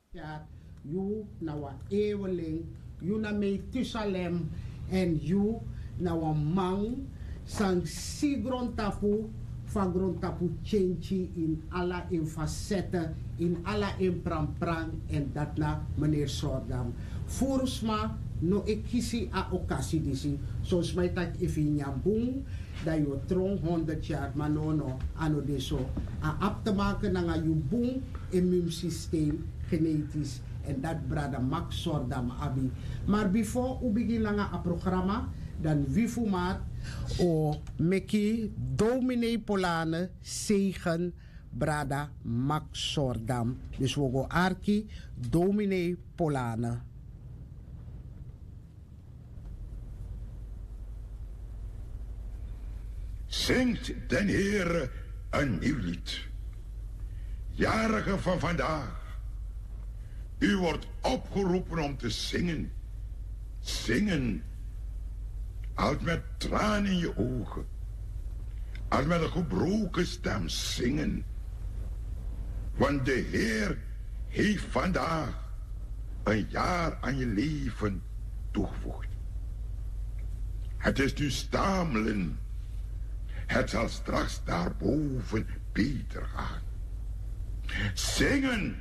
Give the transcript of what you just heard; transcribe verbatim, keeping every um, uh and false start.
Tyari, yu na wan eweling, yu na Metusalem, èn yu na wan man san si grontapu, fa grontapu tyentyi ini ala en fasèt, ini ala en pranpran, èn dati na meneer Sordam. Furu sma no e kisi a okasi disi. Son sma e taki efu yu nyan bun, dan yu o tron honderd yari, ma nono, a no de so. A abi te maken nanga yu bun immuunsysteem, genetisch, èn dati brada Max Sordam abi. Maar before u bigin nanga a programma, dan wi fu Maat o meki dominee Polane zegen brada Max Sordam. Dus wi o go arki dominee Polane. Zingt den Heere een nieuw lied. Jarigen van vandaag, u wordt opgeroepen om te zingen. Zingen. Als met tranen in je ogen. Als met een gebroken stem zingen. Want de Heer heeft vandaag een jaar aan je leven toegevoegd. Het is nu stamelen. Het zal straks daarboven beter gaan. Zingen